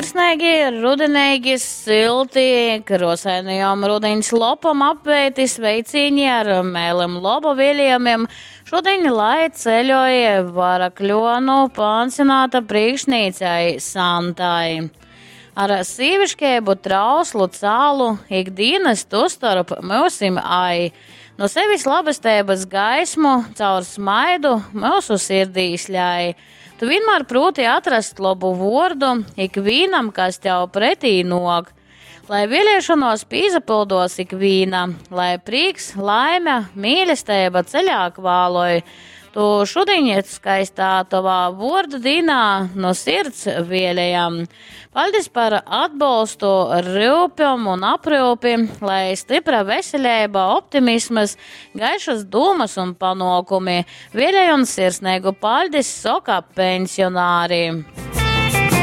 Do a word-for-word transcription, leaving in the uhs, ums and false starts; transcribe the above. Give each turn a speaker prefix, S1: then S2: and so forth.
S1: Sirsneigi, rudeneigi, sylti, kruosainajom rudiņs lopom apveiti sveicīņi ar mēlim loba vieliejumim. Šudiņ lai ceļoj Varakļuonu pansionāta prīkšnīcei Santai. Ar sīviškeibu trauslu cālu ikdīnys tu storp myusim ai. Nu sevis labesteibys gaismu caur smaidu myusu sirdīs ļai. Tu vienmēr prūti atrast lobu vuordu ikvīnam, kas tev pretī nok. Lai vēlēšanos pīsapildos ikvīna, lai prīks, laime, mīlestība ceļā kvāloj. Tu šudiņ skaistā tovā vuordu dīnā no sirds vēlējam. Paldies par atbalstu, ryupjom un apryupi, lai stipra veselība, optimisms, gaišas dūmas un panokumi. Vēlēj un sirsnīgu paļdis soka pensionāri.